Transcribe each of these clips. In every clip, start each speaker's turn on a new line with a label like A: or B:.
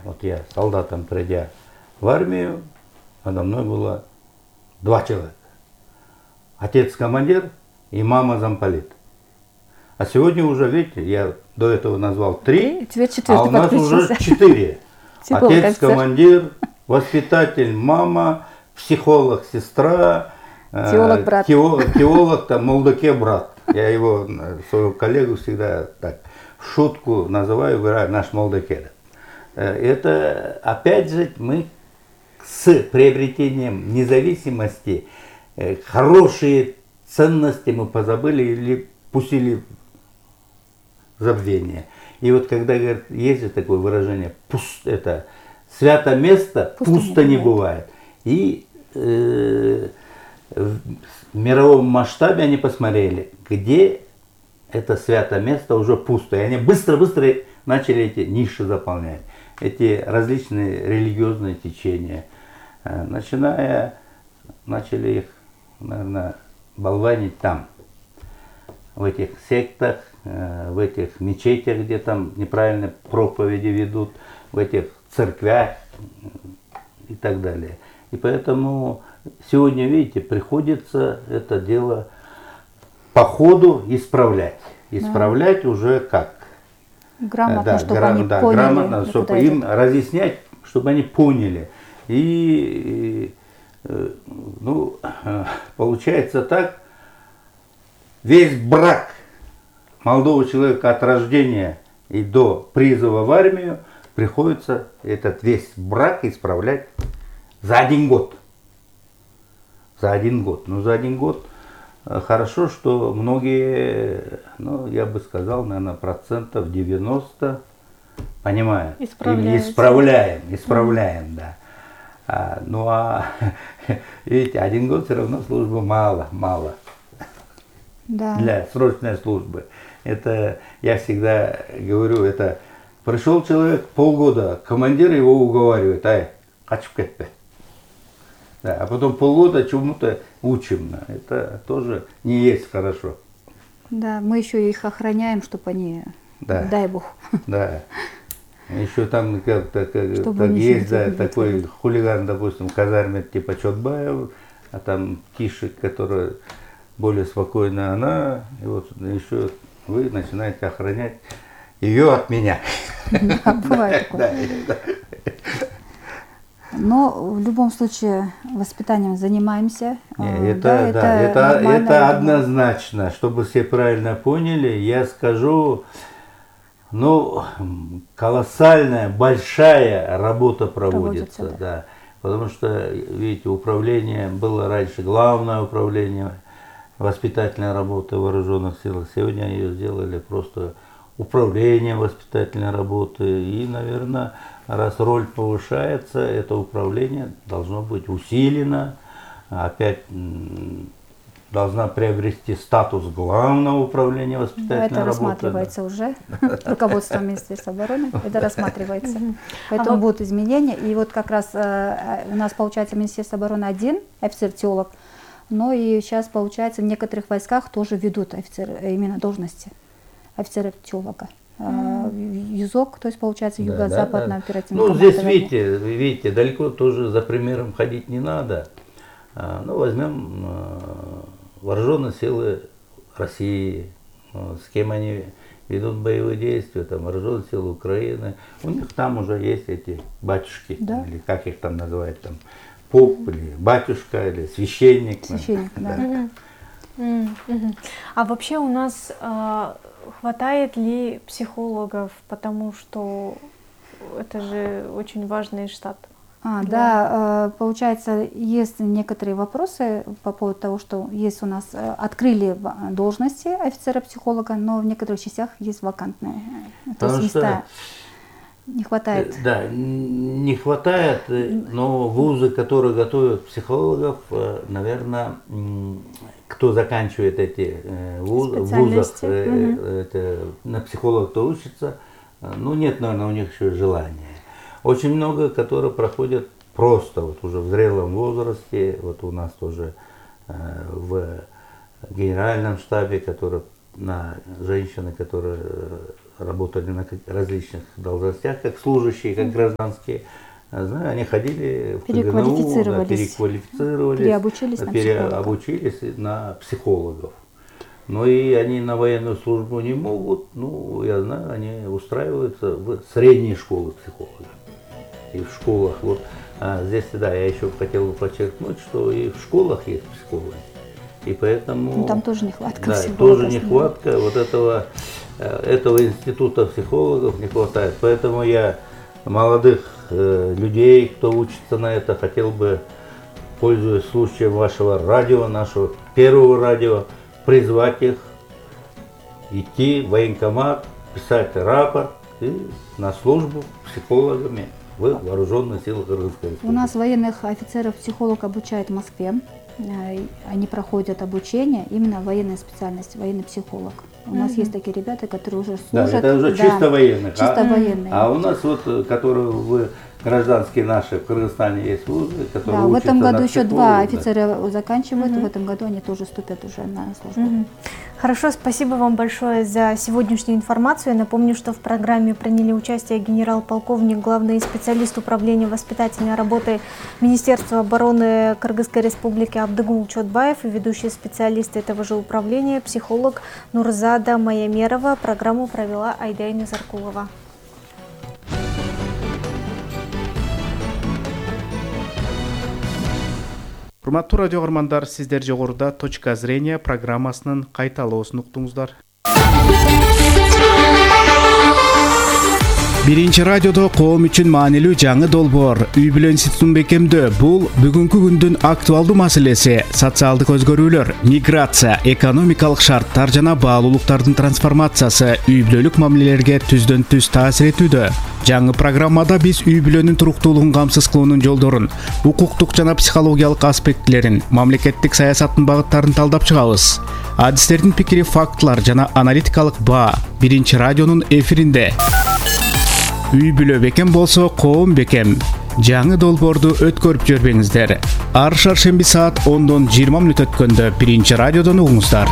A: Вот я солдатом, придя в армию, надо мной было 2 человека. Отец командир и мама замполит. А сегодня уже, видите, я до этого назвал 3, а у нас уже 4. Отец командир, воспитатель мама, психолог сестра,
B: теолог брат.
A: Теолог там Молдоке брат. Я его, своего коллегу, всегда так в шутку называю, говорю, наш Молдоке. Это, опять же, мы с приобретением независимости хорошие ценности мы позабыли или пустили в забвение. И вот когда говорят, есть же такое выражение, это свято место пусто не бывает. И в мировом масштабе они посмотрели, где это свято место уже пусто. И они быстро-быстро начали эти ниши заполнять. Эти различные религиозные течения. Начали их, наверное, болванить там, в этих сектах, в этих мечетях, где там неправильные проповеди ведут, в этих церквях и так далее. И поэтому сегодня, видите, приходится это дело по ходу исправлять. Исправлять уже как?
B: Грамотно, чтобы они поняли.
A: Грамотно, чтобы им разъяснять, чтобы они поняли. И, ну, получается так, весь брак молодого человека от рождения и до призыва в армию приходится этот весь брак исправлять за 1 год. За 1 год. Ну, за 1 год хорошо, что многие, ну, я бы сказал, наверное, 90% понимают. Исправляем, да. Ну, видите, 1 год все равно службы мало.
B: Да.
A: Для срочной службы. Это, я всегда говорю, это пришел человек полгода, командир его уговаривает, хочу кетпе. Да, а потом полгода чему-то учим. Это тоже не есть хорошо.
B: Да, мы еще их охраняем, чтобы они,
A: да.
B: Дай Бог.
A: Да. Еще там как-то есть, да, такой хулиган, допустим, в казарме типа Чотбаев, а там Кишек, которая более спокойная она, и вот еще вы начинаете охранять ее от меня.
B: Да, бывает такое. Но в любом случае воспитанием занимаемся.
A: Это однозначно. Чтобы все правильно поняли, я скажу, ну, колоссальная, большая работа проводится. Да. Потому что, видите, управление было раньше, главное управление воспитательной работы в вооруженных силах. Сегодня ее сделали просто управление воспитательной работы. И, наверное, раз роль повышается, это управление должно быть усилено, опять должна приобрести статус главного управления воспитательной работы.
B: Это рассматривается уже руководством Министерства обороны, это рассматривается. Поэтому будут изменения. И вот как раз у нас получается Министерство обороны 1 офицер-теолог, но и сейчас получается в некоторых войсках тоже ведут именно должности офицера-теолога. ЮЗОК, то есть получается юго-западное оперативное командование.
A: Ну, здесь, видите, далеко тоже за примером ходить не надо. Ну, возьмем вооруженные силы России, с кем они ведут боевые действия, там, вооруженные силы Украины. У них там уже есть эти батюшки,
B: да.
A: Или как их там называют, там, поп, или батюшка, или священник.
B: Священник, да.
C: А вообще у нас хватает ли психологов, потому что это же очень важный штат?
B: Да, получается, есть некоторые вопросы по поводу того, что есть у нас, открыли должности офицера-психолога, но в некоторых частях есть вакантные. То есть места не хватает.
A: Да, не хватает, но вузы, которые готовят психологов, наверное, кто заканчивает эти вузов, на психолога кто учится, ну нет, наверное, у них еще желания. Очень много, которые проходят просто вот уже в зрелом возрасте, вот у нас тоже в генеральном штабе, женщины, которые работали на различных должностях, как служащие, как гражданские. Знаю, они ходили в КГНУ, переквалифицировались, переобучились на психологов. Но и они на военную службу не могут, ну, я знаю, они устраиваются в средние школы психологов. И в школах, вот, здесь, да, я еще хотел бы подчеркнуть, что и в школах есть психологи. И поэтому...
B: Ну, там тоже нехватка
A: да,
B: психологов.
A: Тоже нехватка вот этого института психологов не хватает. Поэтому я молодых людей, кто учится на это, хотел бы, пользуясь случаем вашего радио, нашего первого радио, призвать их идти в военкомат, писать рапорт и на службу психологами в вооруженных силах Кыргызской Республики.
B: У нас военных офицеров-психолог обучают в Москве. Они проходят обучение, именно военная специальность, военный психолог. У нас есть такие ребята, которые уже служат.
A: Да, это уже чисто военных.
B: Чисто военные.
A: А у нас вот, которые гражданские наши в Кыргызстане есть службы, которые
B: в этом году еще 2
A: да.
B: офицера заканчивают, в этом году они тоже вступят уже на службу.
C: Хорошо, спасибо вам большое за сегодняшнюю информацию. Я напомню, что в программе приняли участие генерал-полковник, главный специалист управления воспитательной работы Министерства обороны Кыргызской Республики Абдыгул Чотбаев и ведущий специалист этого же управления, психолог Нурзада Маямерова. Программу провела Айдайна Заркулова.
D: Урматтуу радио каармандар, сиздер жогоруда «Точка зрения» программасынын кайталоосун уктуңуздар. Биринчи радиодо коом үчүн маанилүү жаңы долбоор үй бүлө институтун бекемдөө. Бул бүгүнкү күндүн актуалдуу маселеси. Социалдык өзгөрүүлөр, миграция, экономикалык шарттар жана баалуулуктардын трансформациясы үй бүлөлүк мамилелерге түздөн түз таасир этүүдө. Жаңы программада биз үй бүлөнүн туруктуулугун камсыз кылуунун жолдорун, укуктук жана психологиялык аспектилерин, мамлекеттик саясаттын багыттарын талдап чыгабыз. Адистердин пикири, фактылар жана аналитикалык баа биринчи радионун эфиринде. Үй бүлө бекем болсо, коом бекем. Жаңы долбоорду өткөрүп жүрбөңүздөр. Ар шаршемби саат 10-дон 20 мүнөт өткөндө биринчи радиодон угуңуздар.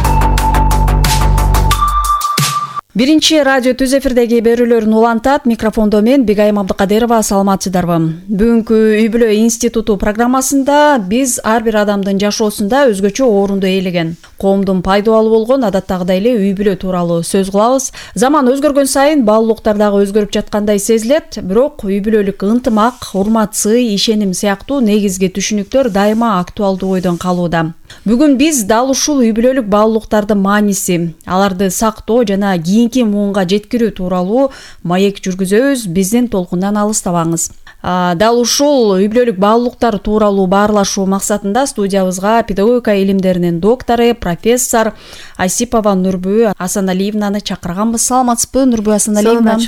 E: Биринчи радио түз эфирдеги берүүлөрүн улантат. Микрофондо мен Бигайым Абдыкадырова. Саламатсыздарбы? Бүгүнкү үй бүлө институту программасында биз ар бир адамдын жашоосунда өзгөчө орунду ээлеген, коомдун пайдалуу болгон адаттагыдай эле үй бүлө тууралуу сөз кылабыз. Заман өзгөргөн сайын баалуулуктар дагы өзгөрүп жаткандай сезилет, бирок үй бүлөлүк ынтымак, урмат, сый, ишеним сыяктуу негизги түшүнүктөр дайыма актуалдуу ойдон калууда. Бүгүн биз дал ушул үй бүлөлүк баалуулуктардын мааниси, аларды сактоо жана кийинки муунга жеткирүү тууралуу маек жүргүзөбүз. Биздин толкундан алыстабаңыз. Дал ушул үй бүлөлүк баалуулуктар тууралуу баарлашуу максатында студиябызга педагогика илимдеринин доктору, профессор Айсипова Нурбү Асаналиевнаны чакырганбыз. Саламатсызбы, Нурбү Асаналиевна?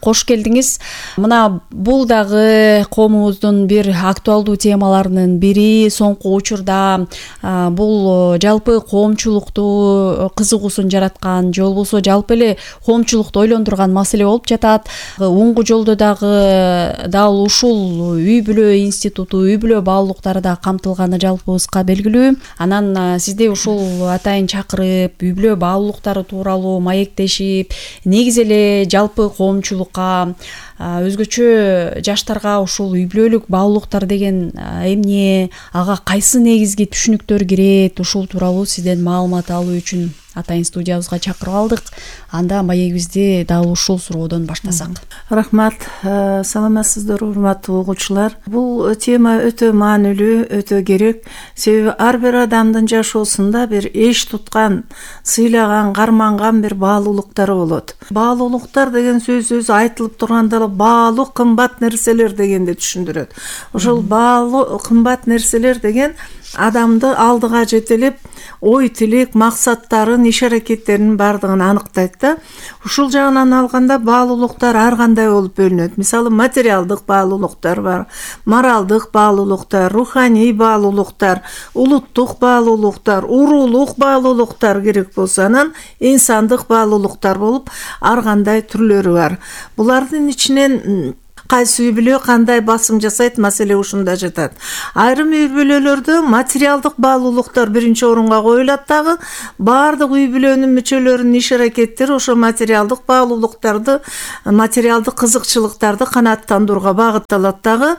E: Кош келдиңиз. Мына бул дагы коомубуздун бир актуалдуу темаларынын бири. Соңку учурда бул жалпы коомчулукту кызыгуусун жараткан, же болбосо жалпы эле коомчулукту ойлондурган маселе болуп жатат. Оңгу жолдо дагы дал ушул үй бүлө институту, үй бүлө баалуулуктары да камтылганы жалпыбызга белгилүү. Анан сизди ушул атайын чакырып, үй бүлө баалуулуктары тууралуу маектешип, негизи эле жалпы коомчулукка, өзгөчө жаштарга ушул үй бүлөлүк баалуулуктар деген эмне, ага кайсы негизги түшүнүктөр кирет, ушул тууралуу сизден маалымат алуу үчүн атайын студиябызга чакырып алдык. Анда маегибизди дал ушул суроодон баштасак.
F: Рахмат, саламатсыздар урматтуу угуучулар. Бул тема өтө маанилүү, өтө керек. Себеби ар бир адамдын жашоосунда бир эч туткан, сыйлаган, карманган бир баалуулуктары болот. Баалуулуктар деген сөз өзү айтылып турганда баалуу кымбат нерселер дегенди түшүндүрөт. Ошол баалуу кымбат нерселер деген адамды алдыга жетелеп, ой тилек, максаттарын, иш аракеттеринин бардыгын аныктайт да. Ушул жагынан алганда баалуулуктар ар кандай болуп бөлүнөт. Мисалы, материалдык баалуулуктар бар, моралдык баалуулуктар, руханий баалуулуктар, улуттук баалуулуктар, уруулук баалуулуктар керек болсо, анан инсандык баалуулуктар болуп ар кандай түрлөрү бар. Булардын ичинен кайсы үй бүлө кандай басым жасайт, маселе ушунда жатат. Айрым үй бүлөлөрдө материалдык баалуулуктар биринчи орунга коюлат дагы, баардык үй бүлөнүн мүчөлөрүнүн иш аракеттери ошо материалдык баалуулуктарды, материалдык кызыкчылыктарды канааттандырууга багытталат дагы.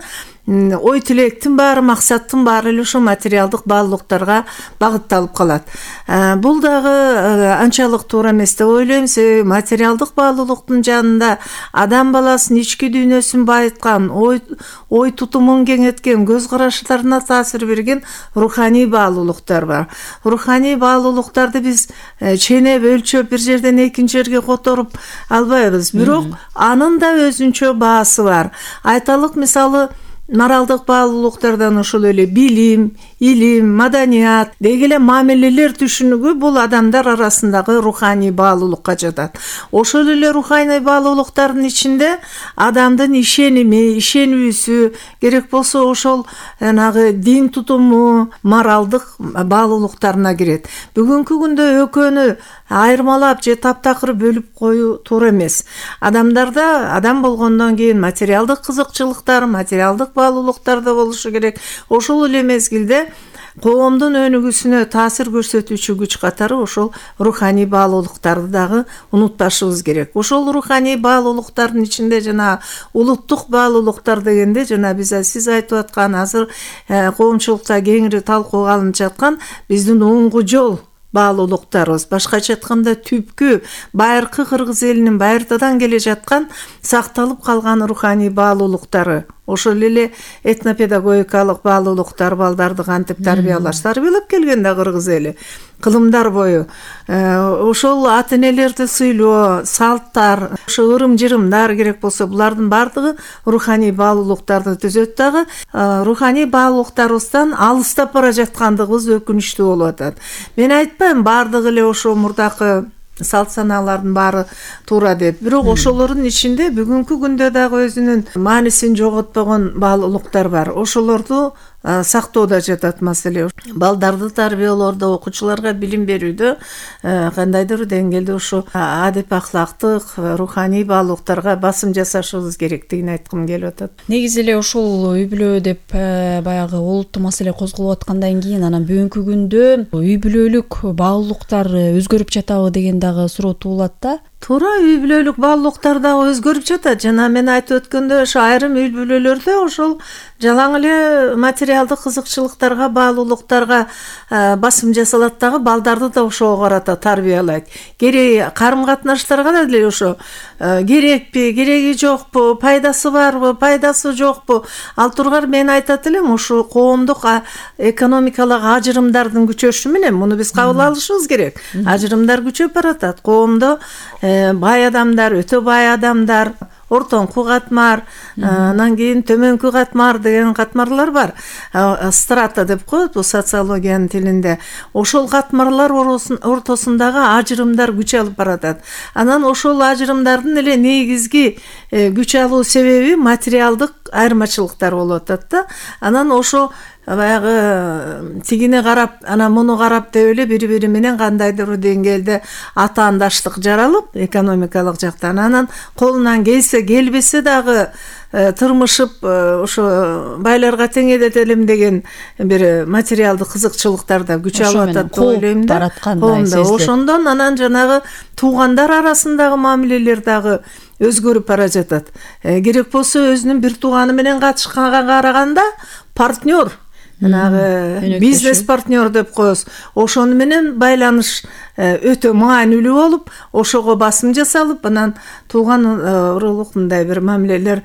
F: Ой тилектин баары, максаттын баары эле ошо материалдык баалуулуктарга багытталып калат. Бул дагы анчалык туура эмес деп ойлойм. Себеби материалдык баалуулуктун жанында адам баласынын ички дүйнөсүн байыткан, ой тутумун кеңейткен, көз караштарына таасир берген руханий баалуулуктар бар. Руханий баалуулуктарды биз ченеп, өлчөп, бир жерден экинчи жерге которуп албайбыз. Бирок анын да өзүнчө баасы бар. Айталык, мисалы, моралдык баалуулуктардан ошол эле билим, илим, маданият, деги эле мамилелер түшүнүгү бул адамдар арасындагы руханий баалуулукка жатат. Ошол эле руханий баалуулуктардын ичинде адамдын ишеними, ишенүүсү, керек болсо ошол дин тутуму, моралдык баалуулуктарына кирет. Бүгүнкү күндө экөөнү айырмалап же таптакыр бөлүп коюу туура эмес. Адамдарда адам болгондон кийин материалдык кызыкчылыктар, материалдык баалуулуктар да болушу керек. Ошол эле мезгилде коомдун өнүгүүсүнө таасир көрсөтүүчү күч катары ошол руханий баалуулуктарды дагы унутпашыбыз керек. Ошол руханий баалуулуктардын ичинде жана улуттук баалуулуктар дегенде жана сиз айтып аткан азыр коомчулукта кеңири талкууга алынып жаткан биздин оңгу жол баалуулуктарыбыз, башкача айтканда түпкү байыркы кыргыз элинин байыртадан келе жаткан сакталып калган руханий баалуулуктары, ошол эле этнопедагогикалык баалуулуктар, балдарды кантип тарбиялап келген да кыргыз эли кылымдар бою. Ошол ата энелерди сыйлоо, салттар, ошо ырым-жырымдар керек болсо булардын баардыгы руханий баалуулуктарды түзөт дагы. Руханий баалуулуктарыбыздан алыстап бара жаткандыгыбыз өкүнүчтүү болуп атат. Мен айтпайм баардыгы эле ошо мурдакы салт санаалардын баары туура деп. Бирок ошолордун ичинде бүгүнкү күндө дагы өзүнүн маанисин жоготпогон баалуулуктар бар. Ошолорду сактоодо жатат маселе. Балдарды тарбиялоодо, окуучуларга билим берүүдө кандайдыр деңгээлде ошо адеп ахлактык, руханий баалуулуктарга басым жасашыбыз керектигин айткым келип атат.
E: Негизи эле ушул үй бүлө деп баягы олуттуу маселе козголуп аткандан кийин анан бүгүнкү күндө үй бүлөлүк баалуулуктар өзгөрүп жатабы деген дагы суроо туулат да.
F: Туура, үй бүлөлүк баалуулуктар дагы өзгөрүп жатат. Жана мен айтып өткөндөй, ошо айрым үй бүлөлөрдө ошол жалаң эле материалдык кызыкчылыктарга, баалуулуктарга басым жасалат дагы, балдарды да ошого карата тарбиялайт. Керек карым катнаштарга да деле ошо керекпи, кереги жокпу, пайдасы барбы, пайдасы жокпу? Ал тургар мен айтат элем, ошо коомдук экономикалык ажырымдардын күчөшү менен муну биз кабыл алышыбыз керек. Ажырымдар күчөп баратат. Коомдо бай адамдар, өтө бай адамдар, ортоңку катмар, анан кийин төмөнкү катмар деген катмарлар бар. Страта деп коет бул социологиянын тилинде. Ошол катмарлар ортосундагы ажырымдар күч алып баратат. Анан ошол ажырымдардын эле негизги күч алуу себеби материалдык айырмачылыктар болуп атат да. Анан ошо баягы тигине карап, анан муну карап деп эле бири-бири менен кандайдыр деңгээлде атаандаштык жаралып, экономикалык жактан анан колунан келбесе дагы тырмышып ошо байларга тең эдетелим деген бир материалдык кызыкчылыктарда күч алып атат деп ойлойм да. Ошондон анан жанагы туугандар арасындагы мамилелер дагы өзгөрүп бара жатат. Керек болсо өзүнүн бир тууганы менен катышканга караганда партнер, бизнес партнер деп коебуз. Ошону менен байланыш өтө маанилүү болуп, ошого басым жасалып, анан тууган урулук мындай бир мамилелер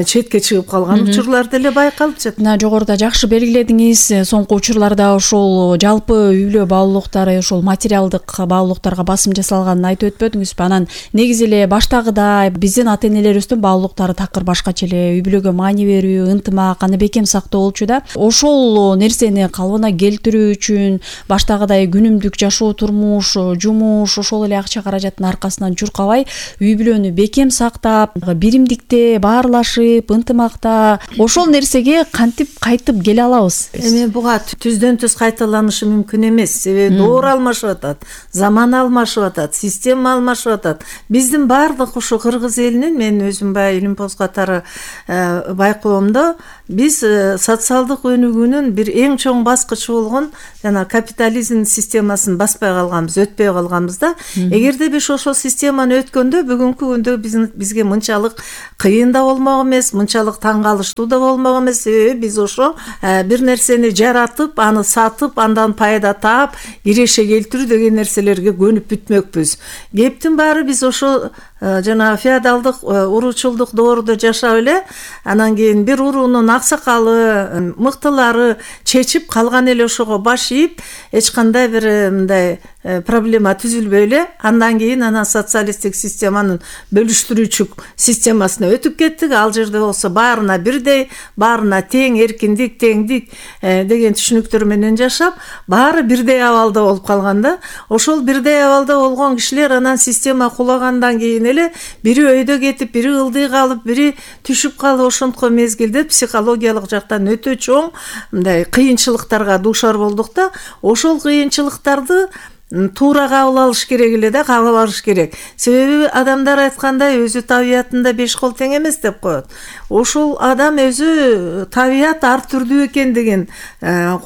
F: четке чыгып калган учурлар деле байкалып жатат.
E: Мына жогоруда жакшы белгиледиңиз, соңку учурларда ошол жалпы үй бүлө баалуулуктары, ошол материалдык баалуулуктарга басым жасалганын айтып өтпөдүңүзбү? Анан негизи эле баштагыдай биздин ата энелерибиздин баалуулуктары такыр башкача эле, үй бүлөгө маани берүү, ынтымак, аны бекем сактоо болчу да. Ошол нерсени калыбына келтирүү үчүн баштагыдай күнүмдүк жашоо, турмуш, жумуш, ошол эле акча каражаттын аркасынан чуркабай үй бүлөнү бекем сактап, биримдикте баарлашып, жашашып, ынтымакта ошол нерсеге кантип кайтып келе алабыз?
F: Эми буга түздөн түз кайталанышы мүмкүн эмес. Себеби доор алмашып атат, заман алмашып атат, система алмашып атат. Биздин бардык ушу кыргыз элинин, мен өзүм баягы Илимпоз катары байкоомдо биз социалдык өнүгүүнүн бир эң чоң баскычы болгон жана капитализм системасын баспай калганбыз, өтпөй калганбыз да. Эгерде биз ошол системаны өткөндө бүгүнкү күндө бизге мынчалык кыйын да болмок эмес, мынчалык таң калыштуу да болмок эмес. Себеби биз ошо бир нерсени жаратып, аны сатып, андан пайда таап, киреше келтирүү деген нерселерге көнүп бүтмөкпүз. Кептин баары биз ошо жана феодалдык уруучулдук доордо жашап эле, анан кийин бир уруунун аксакалы, мыктылары чечип калган эле ошого баш ийип, эч кандай бир мындай проблема түзүлбөй эле, андан кийин анан социалисттик системанын бөлүштүрүүчү системасына өтүп кеттик. Ал жерде болсо баарына бирдей, баарына тең, эркиндик, теңдик деген түшүнүктөр менен жашап, баары бирдей абалда болуп калган да. Ошол бирдей абалда болгон кишилер анан система кулагандан кийин эле бири өйдө кетип, бири ылдый калып, бири түшүп калып, ошонтко мезгилде психологиялык жактан өтө чоң мындай кыйынчылыктарга дуушар болдук да. Ошол кыйынчылыктарды туура кабыл алыш керек эле да, кабыл алыш керек. Себеби адамдар айткандай, өзү табиятында 5 кол тең эмес деп коет. Ошол адам өзү табият ар түрдүү экендигин,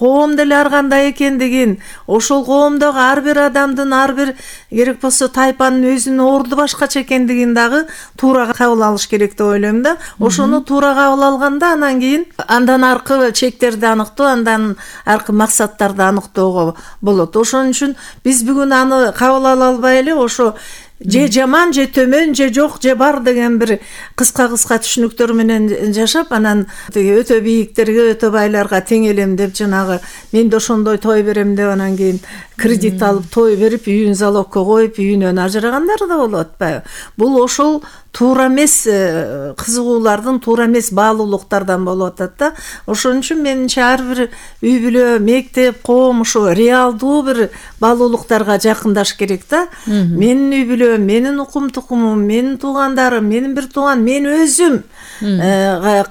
F: коом деле ар кандай экендигин, ошол коомдогу ар бир адамдын, ар бир керек болсо тайпанын өзүнүн орду башкача экендигин дагы туура кабыл алыш керек деп ойлойм да. Ошону туура кабыл алганда анан кийин андан аркы чектерди аныктоо, андан аркы максаттарды аныктоого болот. Ошон үчүн биз бүгүн аны кабыл ала албай эле ошо же жаман, же төмөн, же жок, же бар деген бир кыска түшүнүктөр менен жашап, анан өтө бийиктерге, өтө байларга тең элем деп, жанагы мен да ошондой той берем деп, анан кийин кредит алып той берип, үйүн залогко коюп, үйүнөн ажырагандар да болуп атпайбы? Бул ошол туура эмес кызыгуулардын, туура эмес баалуулуктардан болуп атат да. Ошон үчүн менимче ар бир үй бүлө, мектеп, коом ошо реалдуу бир баалуулуктарга жакындаш керек да. Менин үй бүлөм, менин укум тукумум, менин туугандарым, менин бир тууган, мен өзүм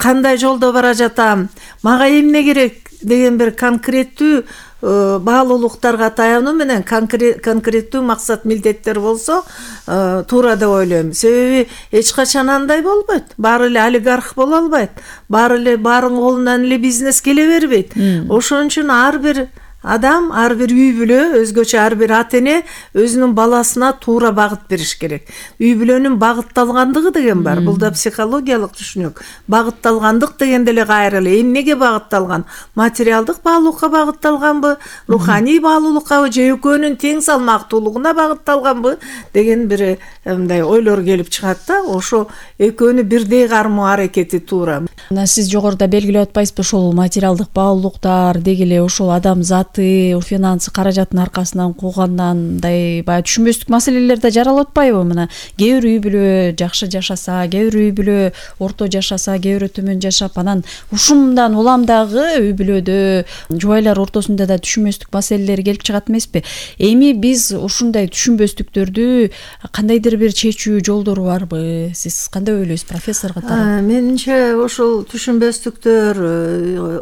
F: кандай жолдо бара жатам, мага эмне керек деген бир конкреттүү баалуулуктарга таянуу менен конкреттүү максат милдеттер болсо туура деп ойлойм. Себеби эч качан андай болбойт. Баары эле олигарх боло албайт. Баары баарынын колунан эле бизнес келе бербейт. Ошон үчүн ар бир адам, ар бир үй бүлө, өзгөчө ар бир ата эне өзүнүн баласына туура багыт бериш керек. Үй бүлөнүн багытталгандыгы деген бар. Бул да психологиялык түшүнүк. Багытталгандык дегенде эле кайра эле эмнеге багытталган? Материалдык баалуулукка багытталганбы, руханий баалуулуккабы, же экөөнүн тең салмактуулугуна багытталганбы деген бир мындай ойлор келип чыгат да. Ошо экөөнү бирдей кармоо аракети туура.
E: Сиз жогоруда белгилеп атпайсызбы, ошол материалдык баалуулуктар деги эле ошол адам финансы каражаттын аркасынан куугандан баягы түшүнбөстүк маселелер да жаралып атпайбы? Мына кээ бир үй бүлө жакшы жашаса, кээ бир үй бүлө орто жашаса, кээ бирөө төмөн жашап, анан ушундан улам дагы үй бүлөдө жубайлар ортосунда да түшүнбөстүк маселелер келип чыгат эмеспи? Эми биз ушундай түшүнбөстүктөрдү кандайдыр бир чечүү жолдору барбы? Сиз кандай ойлойсуз, профессор катары?
F: Менимче ошол түшүнбөстүктөр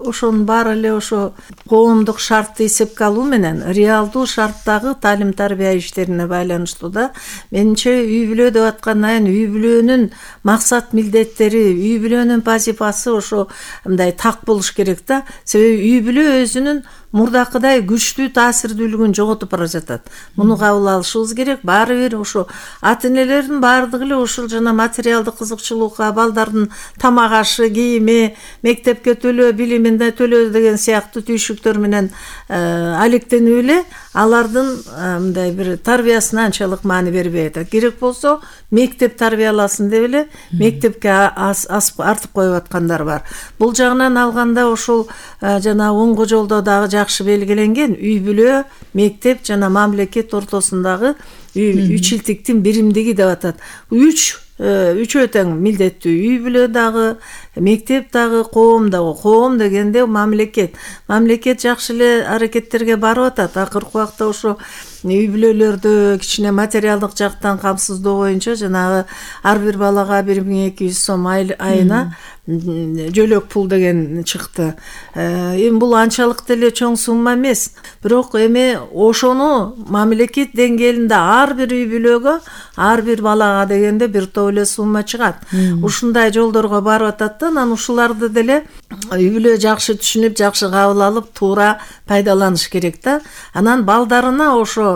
F: ошонун баары эле ошо коомдук шартты эсепке алуу менен реалдуу шарттагы таалим тарбия иштерине байланыштуу да. Менимче үй бүлө деп аткандан кийин үй бүлөнүн максат милдеттери, үй бүлөнүн вазифасы ошо мындай так болуш керек да. Себеби үй бүлө өзүнүн мурдакыдай күчтүү таасирдүүлүгүн жоготуп бара жатат. Муну кабыл алышыбыз керек. Баары бир ошо ата энелердин баардыгы эле ушул жана материалдык кызыкчылыкка, балдардын тамак ашы, кийими, мектепке төлөө, билимине төлөө деген сыяктуу түйшүктөр менен алектенип эле алардын мындай бир тарбиясына анчалык маани бербей атат. Керек болсо мектеп тарбияласын деп эле мектепке артып коюп аткандар бар. Бул жагынан алганда ошол жана оңго жолдо дагы жакшы белгиленген үй бүлө, мектеп жана мамлекет ортосундагы үчилтиктин биримдиги деп атат. Үчөө тең милдеттүү үй бүлө дагы, мектеп дагы, коом дагы. Коом дегенде мамлекет жакшы эле аракеттерге барып атат. Акыркы убакта ошо үй бүлөлөрдү кичине материалдык жактан камсыздоо боюнча жанагы ар бир балага 1200 сом айына жөлөк пул деген чыкты. Эми бул анчалык деле чоң сумма эмес. Бирок эми ошону мамлекет деңгээлинде ар бир үй бүлөгө, ар бир балага дегенде бир топ эле сумма чыгат. Ушундай жолдорго барып атат да, анан ушуларды деле үй бүлө жакшы түшүнүп, жакшы кабыл алып, туура пайдаланыш керек да. Анан балдарына ошо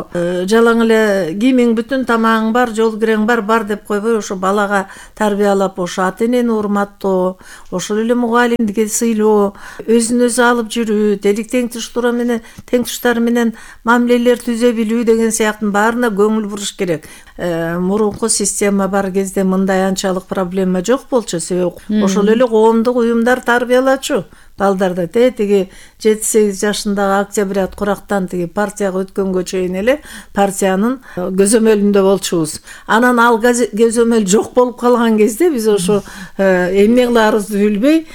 F: жалаң эле кийимиң бүтүн, тамагың бар, жол кирең бар деп койбой, ошо балага тарбиялап, ошо ата-энени урматтоо, ошол эле мугалимдикке сыйлоо, өзүн өзү алып жүрүү, делик теңтуштары менен мамилелер түзө билүү деген сыяктын баарына көңүл буруш керек. Мурунку система бар кезде мындай анчалык проблема жок болчу, себеби ошол эле коомдук уюмдар тарбиялачу балдарды. Тиги 7-8 жашындагы Октябрят Курактан тиги партияга өткөнгө чейин эле партиянын көзөмөлүндө болчубуз. Анан ал көзөмөл жок болуп калган кезде биз ошо эмне кыларыбызды билбей,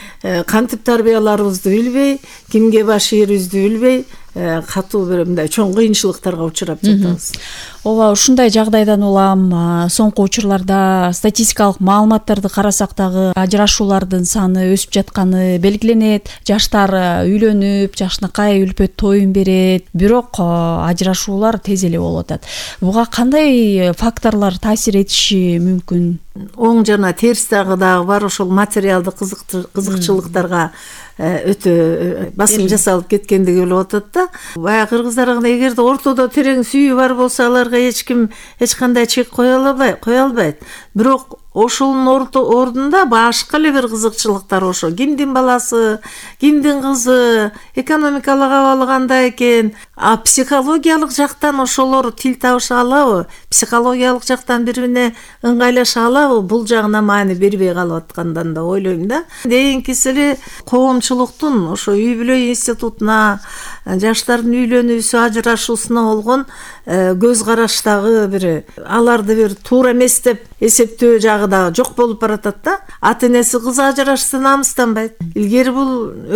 F: кантип тарбияларыбызды билбей, кимге баш ийерибизди билбей, катуу бир мындай чоң кыйынчылыктарга учурап жатабыз.
E: Ооба, ушундай жагдайдан улам соңку учурларда статистикалык маалыматтарды карасак дагы ажырашуулардын саны өсүп жатканы белгиленет. Жаштар үйлөнүп, жакшынакай үлпөт тоюн берет, бирок ажырашуулар тез эле болуп атат. Буга кандай факторлор таасир этиши мүмкүн?
F: Оң жана терс дагы бар. Ошол материалдык кызыкчылыктарга өтө басым жасалып кеткендиги болуп атат да. Баягы кыргыздарга эгерде ортодо терең сүйүү бар болсо, аларга эч кандай чек кое албайт. Бирок ошонун ордунда башка эле бир кызыкчылыктар, ошо кимдин баласы, кимдин кызы, экономикалык абалы кандай экен, психологиялык жактан ошолор тил табыша алабы, психологиялык жактан бири-бирине ыңгайлаша алабы, бул жагына маани бербей калып аткандан да ойлойм да. Кийинкиси эле коомчулуктун ошо үй бүлө институтуна, жаштардын үйлөнүүсү, ажырашуусуна болгон көз караштагы бир аларды бир туура эмес деп эсептөө жагы да жок болуп баратат да. Ата-энеси кызы ажырашса намыстанбайт. Илгери бул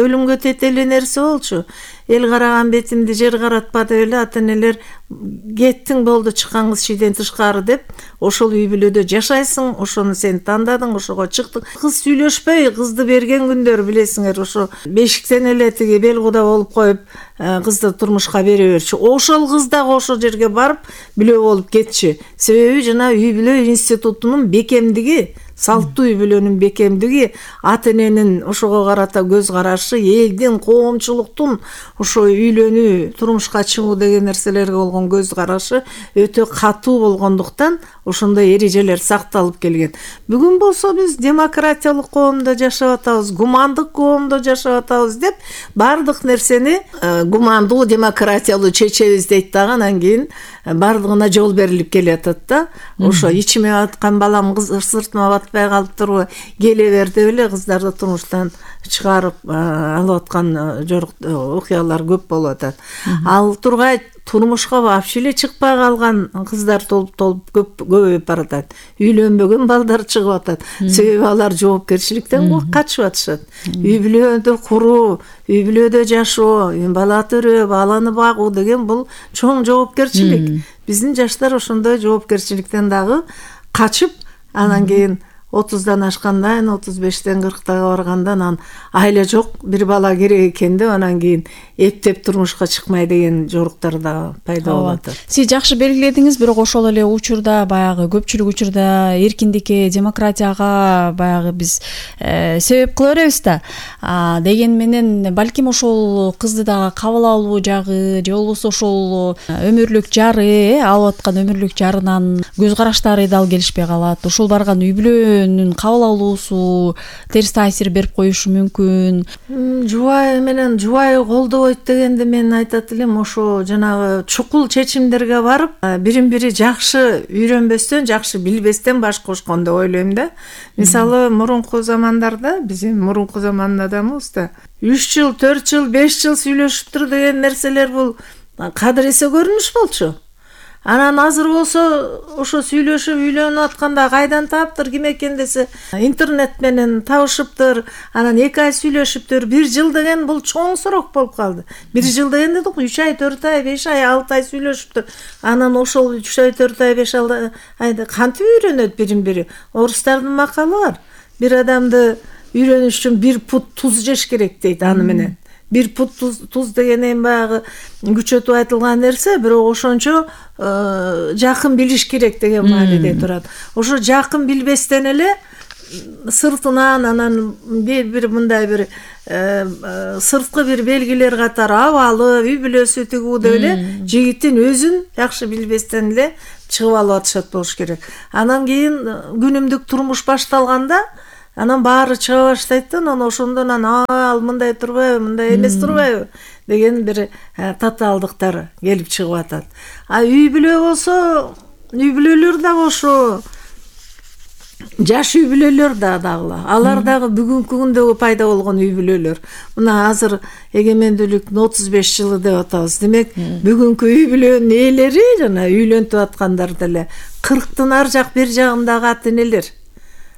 F: өлүмгө тете эле нерсе болчу. Эл караган бетимди жер каратпа деп эле ата-энелер кеттиң болду, чыккан кыз шийден тышкары деп ошол үй бүлөдө жашайсың, ошону сен тандадың, ошого чыктың. Кыз сүйлөшпөй кызды берген күндөр билесиңер, ошо бешиктен эле тиги белгуда болуп коюп кызды турмушка бере берчү. Ошол кыз дагы ошол жерге барып билөө болуп кетчү. Себеби жана үй бүлө институтунун бекемдиги, салттуу үй бүлөнүн бекемдиги, ата-эненин ошого карата көз карашы, элдин, коомчулуктун ошо үйлөнүү, турмушка чыгуу деген нерселерге болгон көз карашы өтө катуу болгондуктан ошондой эрежелер сакталып келген. Бүгүн болсо биз демократиялык коомдо жашап атабыз, гумандык коомдо жашап атабыз деп бардык нерсени гумандуу, демократиялуу чечебиз дейт дагы, анан кийин бардыгына жол берилип келатат да. Ошо ичиме аткан балам сыртыма батпай калыптырбы, келе бер деп эле кыздарды турмуштан чыгарып алып аткан окуялар көп болуп атат. Ал тургай турмушка вообще эле чыкпай калган кыздар толуп көбөйүп баратат. Үйлөнбөгөн балдар чыгып атат. Себеби алар жоопкерчиликтен качып атышат. Үй бүлөдө куруу, үй бүлөдө жашоо, бала төрөө, баланы багуу деген бул чоң жоопкерчилик. Биздин жаштар ошондой жоопкерчиликтен дагы качып, анан кийин 30-дан ашкандан, 35-тен 40-тага баргандан анан айла жок, бир бала керек экен деп анан кийин эптеп турмушка чыкмай деген жоруктар да пайда болуп атат.
E: Сиз жакшы белгиледиңиз, бирок ошол эле учурда баягы көпчүлүк учурда эркиндикке, демократияга баягы биз себеп кыла беребиз да. Деген менен балким ошол кызды дагы кабыл алуу жагы, же болбосо ошол өмүрлүк жары, алып аткан өмүрлүк жарынан көз караштары дал келишпей калат. Ошол барган үй бүлөнүн кабыл алуусу терс таасир берип коюшу мүмкүн.
F: Жубайы менен жубайы колдобойт дегенде мен айтат элем, ошо жанагы чукул чечимдерге барып, бирин-бири жакшы үйрөнбөстөн, жакшы билбестен баш кошкон деп ойлойм да. Мисалы, мурунку замандарда, биз мурунку заманда адамбыз да, 3 жыл, 4 жыл, 5 жыл сүйлөшүптүр деген нерселер бул кадыр эсе көрүнүш болчу. Анан азыр болсо ошо сүйлөшүп үйлөнүп атканда кайдан таптыр ким экен десе интернет менен табышыптыр. Анан 2 ай сүйлөшүптүр. 1 жыл деген бул чоң срок болуп калды. 1 жыл деген дедик 3 ай, 4 ай, 5 ай, 6 ай сүйлөшүптүр. Анан ошол 3 ай, 4 ай, 5 айда кантип үйрөнөт бирин-бири? Орустардын макалы бар. Бир адамды үйрөнүш үчүн 1 пут туз жеш керек дейт аны менен. 1 пут туз деген эми баягы күчөтүп айтылган нерсе, бирок ошончо жакын билиш керек деген мааниде турат. Ошо жакын билбестен эле сыртынан анан бир мындай бир сырткы бир белгилер катары абалы, үй бүлөсү тигүү деп эле жигиттин өзүн жакшы билбестен эле чыгып алып атышат болуш керек. Анан кийин күнүмдүк турмуш башталганда анан баары чыга баштайт да, анан ошондон ал мындай турбайбы, мындай эмес турбайбы деген бир татаалдыктар келип чыгып атат. Үй бүлө болсо, үй бүлөлөр дагы ошо жаш үй бүлөлөр дагы алар дагы бүгүнкү күндөгү пайда болгон үй бүлөлөр. Мына азыр эгемендүүлүктүн 35 жылы деп атабыз. Демек, бүгүнкү үй бүлөнүн ээлери жана үйлөнтүп аткандар деле 40тын ар жак бир жагындагы ата-энелер.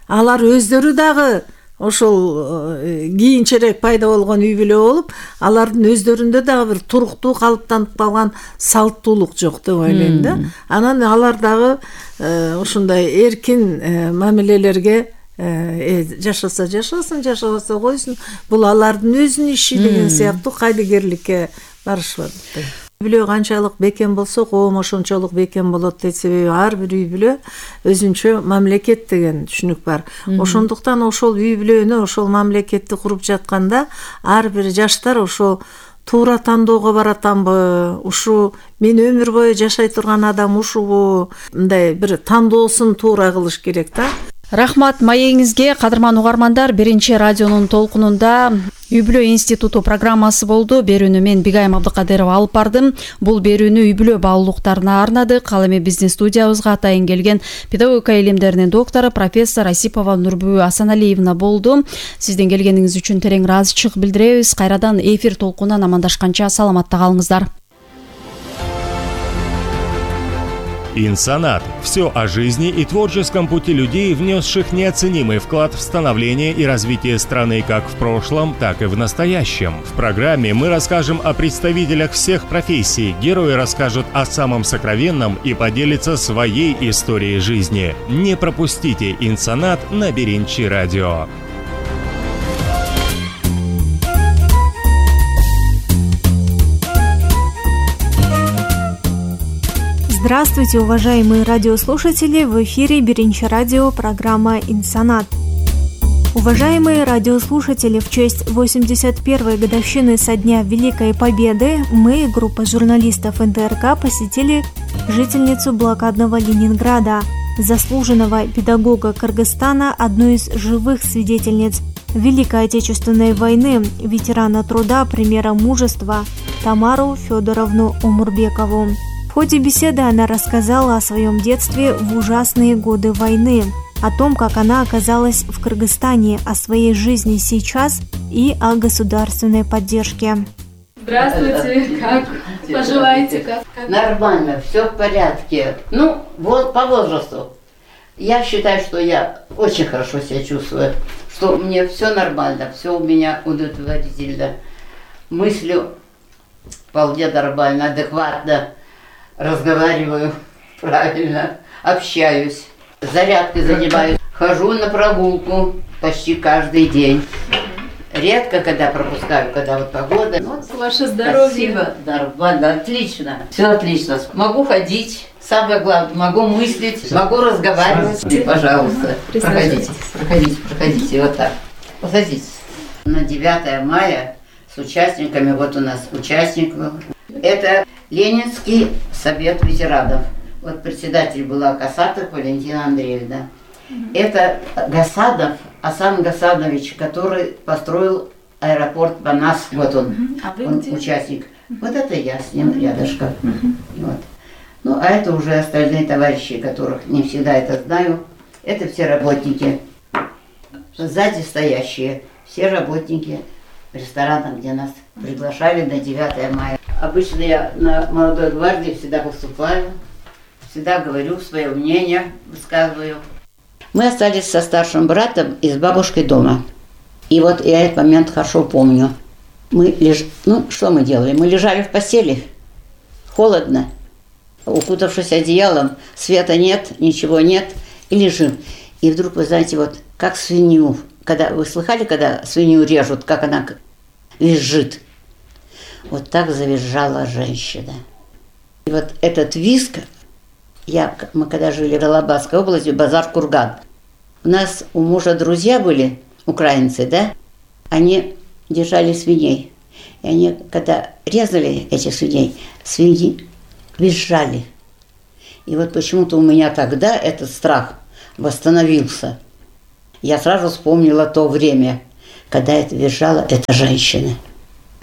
F: Алар өздөрү дагы ошол кийинчерээк пайда болгон үй бүлө болуп, алардын өздөрүндө дагы бир туруктуу калыптанып калган салттуулук жок деп ойлойм да. Анан алар дагы ушундай эркин мамилелерге жашаса жашасын, жашабаса койсун. Бул алардын өзүнүн иши деген сыяктуу кайдыгерликке барышат. Үй бүлө канчалык бекем болсо, коом ошончолук бекем болот дейт. Себеби ар бир үй бүлө өзүнчө мамлекет деген түшүнүк бар. Ошондуктан ошол үй бүлөнү, ошол мамлекетти куруп жатканда ар бир жаштар ошол туура тандоого баратамбы, ушу мен өмүр бою жашай турган адам ушубу, мындай бир тандоосун туура кылыш керек да.
E: Рахмат маегиңизге, кадырман угармандар. 1-радионун толкунунда Үй бүлө институту программасы болду. Берүүнү мен Бигайым Абдыкадырова алып бардым. Бул берүүнү үй бүлө баалуулуктарына арнадык. Ал эми биздин студиябызга атайын келген педагогика илимдеринин доктору профессор Асипова Нурбү Асаналиевна болду. Сиздин келгениңиз үчүн терең ыраазычылык билдиребиз. Кайрадан эфир толкунунан амандашканча саламатта калыңыздар.
G: Инсанат. Все о жизни и творческом пути людей, внесших неоценимый вклад в становление и развитие страны как в прошлом, так и в настоящем. В программе мы расскажем о представителях всех профессий, герои расскажут о самом сокровенном и поделятся своей историей жизни. Не пропустите Инсанат на 1-радио.
C: Здравствуйте, уважаемые радиослушатели! В эфире 1-радио, программа «Инсанат». Уважаемые радиослушатели, в честь 81-й годовщины со дня Великой Победы мы, группа журналистов НТРК, посетили жительницу блокадного Ленинграда, заслуженного педагога Кыргызстана, одну из живых свидетельниц Великой Отечественной войны, ветерана труда, примера мужества Тамару Федоровну Умурбекову. В ходе беседы она рассказала о своем детстве в ужасные годы войны, о том, как она оказалась в Кыргызстане, о своей жизни сейчас и о государственной поддержке.
H: Здравствуйте, как поживаете? Как?
I: Нормально, все в порядке. Ну, вот по возрасту. Я считаю, что я очень хорошо себя чувствую, что мне все нормально, все у меня удовлетворительно. Мыслю вполне нормально, адекватно. Разговариваю правильно, общаюсь, зарядкой занимаюсь, хожу на прогулку почти каждый день. Редко, когда пропускаю, когда вот погода. Вот,
H: ваше здоровье.
I: Спасибо, нормально, отлично, все отлично. Могу ходить, самое главное, могу мыслить, могу разговаривать. Пожалуйста, проходите, вот так, посадитесь. На 9 мая с участниками, вот у нас участников. Это Ленинский совет ветеранов. Вот председатель была Касатов Валентина Андреевна. Это Гасадов, Асан Гасадович, который построил аэропорт Банас. Вот он, он участник. Вот это я с ним рядышком. Вот. Ну, а это уже остальные товарищи, которых не всегда это знаю. Это все работники. Сзади стоящие, все работники ресторана, где нас приглашали на 9 мая. Обычно я на молодой гвардии всегда выступаю, всегда говорю свое мнение, высказываю. Мы остались со старшим братом и с бабушкой дома. И вот я этот момент хорошо помню. Что мы делали? Мы лежали в постели, холодно, укутавшись одеялом, света нет, ничего нет, и лежим. И вдруг, вы знаете, вот как свинью, вы слыхали, когда свинью режут, как она визжит? Вот так завизжала женщина. И вот этот визг, мы когда жили в Алабадской области, Базар-Курган, у мужа друзья были, украинцы, да, они держали свиней. И они, когда резали этих свиней, свиньи визжали. И вот почему-то у меня тогда этот страх восстановился. Я сразу вспомнила то время, когда это визжала эта женщина.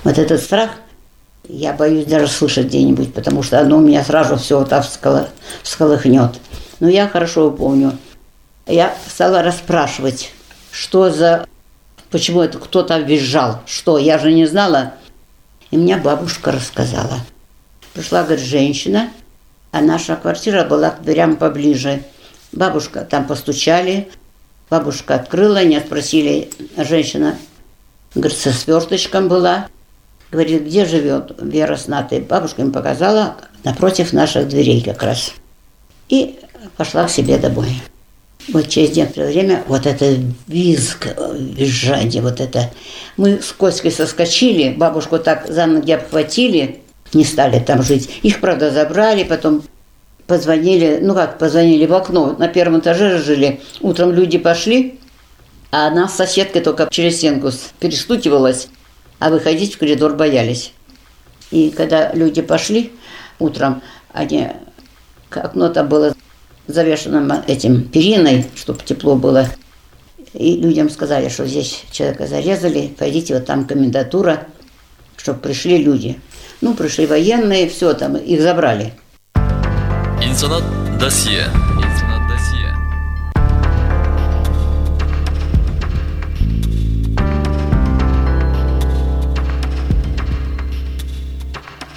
I: Вот этот страх я боюсь даже слышать где-нибудь, потому что оно у меня сразу все вот так всколыхнет. Но я хорошо помню. Я стала расспрашивать, почему это кто там визжал, что, я же не знала. И мне бабушка рассказала. Пришла, говорит, женщина, а наша квартира была к дверям поближе. Бабушка, там постучали, бабушка открыла, не спросили, женщина, говорит, со сверточком была. Говорит, где живет Вера с Натой? Бабушка им показала напротив наших дверей как раз. И пошла к себе домой. Вот через некоторое время вот это визг, визжание, вот это. Мы с Коськой соскочили, бабушку так за ноги обхватили, не стали там жить. Их, правда, забрали, потом позвонили, позвонили в окно. На первом этаже жили. Утром люди пошли, а она с соседкой только через стенку перестукивалась, а выходить в коридор боялись. И когда люди пошли утром, окно там было завешено этим периной, чтобы тепло было. И людям сказали, что здесь человека зарезали, пойдите, вот там комендатура, чтобы пришли люди. Пришли военные, все там, их забрали.
J: Интернет досье.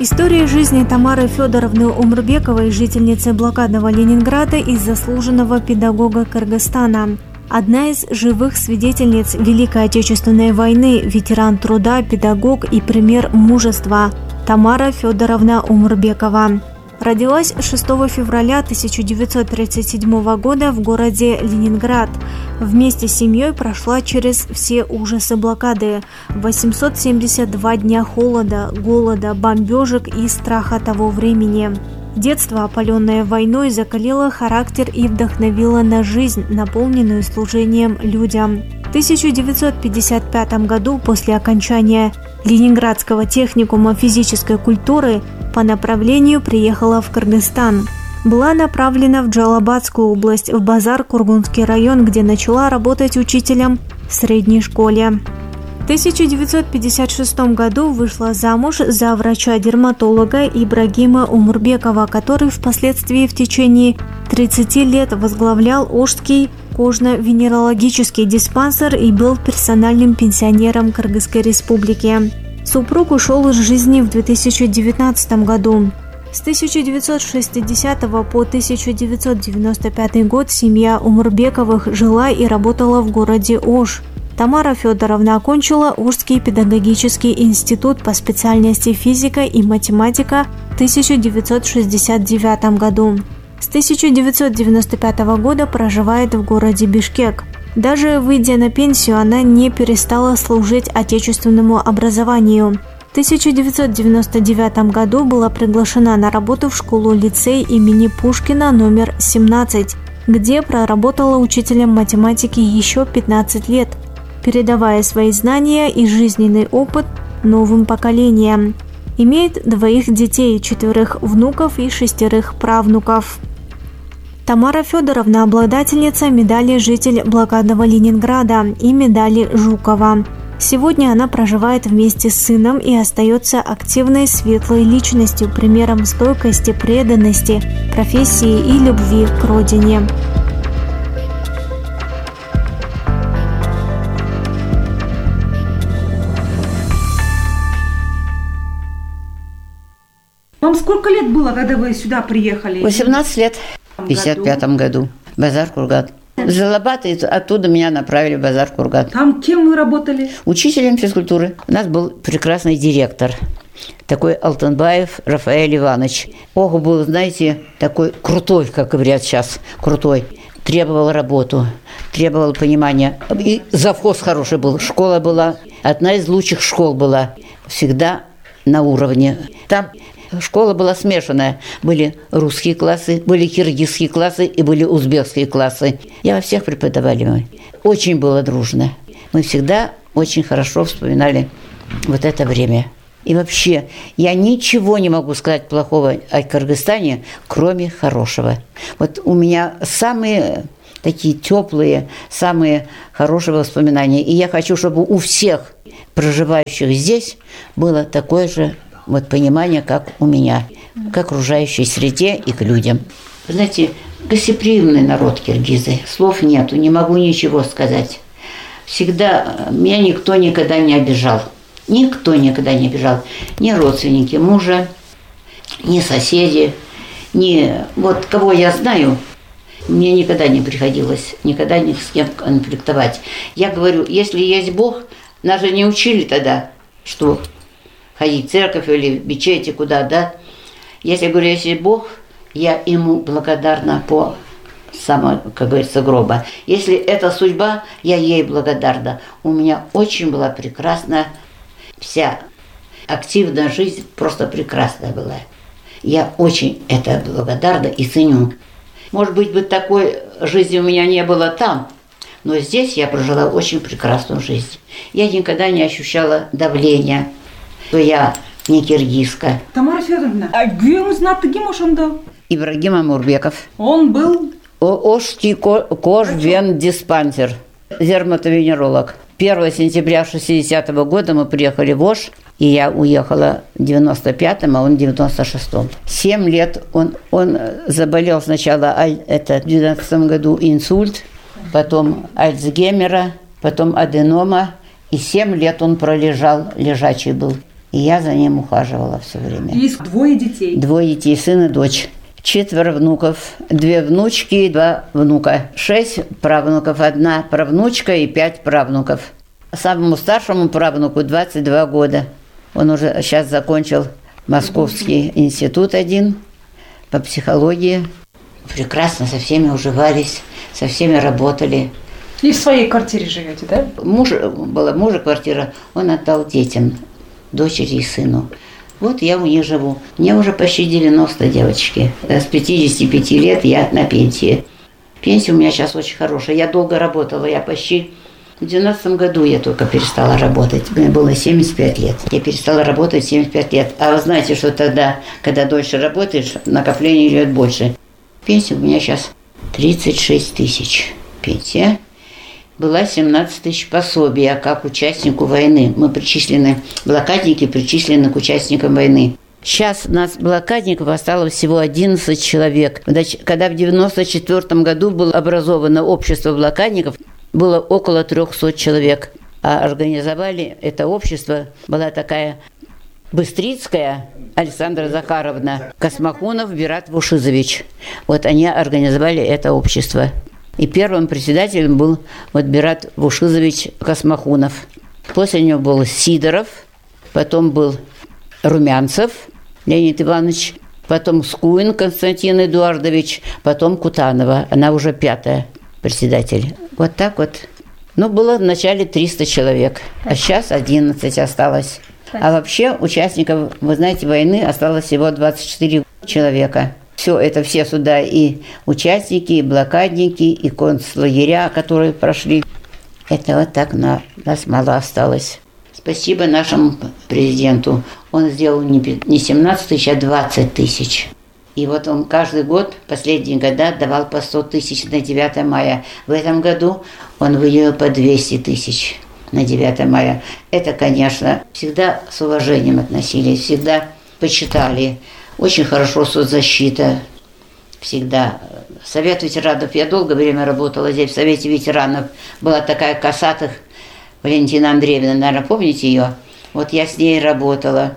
C: История жизни Тамары Федоровны Умурбековой, жительницы блокадного Ленинграда и заслуженного педагога Кыргызстана. Одна из живых свидетельниц Великой Отечественной войны, ветеран труда, педагог и пример мужества Тамара Федоровна Умурбекова. Родилась 6 февраля 1937 года в городе Ленинград. Вместе с семьей прошла через все ужасы блокады. 872 дня холода, голода, бомбежек и страха того времени. Детство, опаленное войной, закалило характер и вдохновило на жизнь, наполненную служением людям. В 1955 году, после окончания Ленинградского техникума физической культуры, по направлению приехала в Кыргызстан. Была направлена в Джалабадскую область, в Базар-Кургунский район, где начала работать учителем в средней школе. В 1956 году вышла замуж за врача-дерматолога Ибрагима Умурбекова, который впоследствии в течение 30 лет возглавлял Ошский кожно-венерологический диспансер и был персональным пенсионером Кыргызской республики. Супруг ушел из жизни в 2019 году. С 1960 по 1995 год семья Умурбековых жила и работала в городе Ош. Тамара Федоровна окончила Ошский педагогический институт по специальности физика и математика в 1969 году. С 1995 года проживает в городе Бишкек. Даже выйдя на пенсию, она не перестала служить отечественному образованию. В 1999 году была приглашена на работу в школу-лицей имени Пушкина номер 17, где проработала учителем математики еще 15 лет, передавая свои знания и жизненный опыт новым поколениям. Имеет 2 детей, 4 внуков и 6 правнуков. Тамара Федоровна – обладательница медали «Житель блокадного Ленинграда» и медали Жукова. Сегодня она проживает вместе с сыном и остается активной, светлой личностью, примером стойкости, преданности, профессии и любви к родине.
K: Вам сколько лет было, когда вы сюда приехали?
I: 18 лет. В 55 году. Базар Курган. С Жалабата, оттуда меня направили в Базар Курган.
K: Там кем вы работали?
I: Учителем физкультуры. У нас был прекрасный директор. Такой Алтынбаев Рафаэль Иванович. Ох, был, знаете, такой крутой, как говорят сейчас, крутой. Требовал работу, требовал понимания. И завхоз хороший был. Школа была, одна из лучших школ была. Всегда на уровне. Там школа была смешанная. Были русские классы, были киргизские классы и были узбекские классы. Я во всех преподавали мы. Очень было дружно. Мы всегда очень хорошо вспоминали вот это время. И вообще, я ничего не могу сказать плохого о Кыргызстане, кроме хорошего. Вот у меня самые такие теплые, самые хорошие воспоминания. И я хочу, чтобы у всех проживающих здесь было такое же вот понимание, как у меня, к окружающей среде и к людям. Вы знаете, гостеприимный народ киргизы. Слов нету, не могу ничего сказать. Всегда меня никто никогда не обижал. Никто никогда не обижал. Ни родственники мужа, ни соседи, ни вот кого я знаю, мне никогда не приходилось никогда ни с кем конфликтовать. Я говорю, если есть Бог, нас же не учили тогда, что ходить в церковь или в мечети куда, да? Если говорю, если Бог, я ему благодарна по самого, как говорится, гроба. Если это судьба, я ей благодарна. У меня очень была прекрасная вся активная жизнь, просто прекрасная была. Я очень это благодарна и ценю. Может быть, такой жизни у меня не было там, но здесь я прожила очень прекрасную жизнь. Я никогда не ощущала давления, что я не киргизка.
K: Тамара Федоровна, а күйөөңүз аты ким ошондо?
I: Ибрагим Амурбеков.
K: Он был?
I: Ошский кожвендиспансер, дерматовенеролог. 1 сентября 1960 года мы приехали в Ош, и я уехала в 95-м, а он в 96-м. 7 лет он заболел сначала в 12 году инсульт, потом Альцгеймера, потом аденома, и 7 лет он пролежал, лежачий был. И я за ним ухаживала все время.
K: Есть 2 детей?
I: 2 детей, сын и дочь. 4 внуков, 2 внучки и 2 внука. 6 правнуков, 1 правнучка и 5 правнуков. Самому старшему правнуку 22 года. Он уже сейчас закончил Московский институт 1 по психологии. Прекрасно со всеми уживались, со всеми работали.
K: И в своей квартире живете, да?
I: Была мужа квартира, он отдал детям, дочери и сыну. Вот я у них живу. Мне уже почти 90, девочки. С 55 лет я на пенсии. Пенсия у меня сейчас очень хорошая. Я долго работала. Я почти в 12 году я только перестала работать. Мне было 75 лет. Я перестала работать 75 лет. А вы знаете, что тогда, когда дольше работаешь, накопление идет больше. Пенсия у меня сейчас 36 тысяч. Пенсия. Была 17 тысяч пособия как участнику войны. Мы причислены, блокадники причислены к участникам войны. Сейчас у нас блокадников осталось всего 11 человек. Когда в 1994 году было образовано общество блокадников, было около 300 человек. А организовали это общество, была такая Быстрицкая Александра Захаровна, Космохунов Бират Вушизович. Вот они организовали это общество. И первым председателем был вот Бират Вушизович Космохунов. После него был Сидоров, потом был Румянцев Леонид Иванович, потом Скуин Константин Эдуардович, потом Кутанова, она уже 5-я председатель. Вот так вот. Ну, было в начале 300 человек, а сейчас 11 осталось. А вообще участников, вы знаете, войны осталось всего 24 человека. Все это все сюда и участники, и блокадники, и концлагеря, которые прошли. Это вот так нас мало осталось. Спасибо нашему президенту. Он сделал не 17 тысяч, а 20 тысяч. И вот он каждый год, последние года, давал по 100 тысяч на 9 мая. В этом году он выделил по 200 тысяч на 9 мая. Это, конечно, всегда с уважением относились, всегда почитали. Очень хорошо соцзащита, всегда. Совет ветеранов, я долгое время работала здесь, в Совете ветеранов. Была такая Косатых Валентина Андреевна, наверное, помните ее? Вот я с ней работала.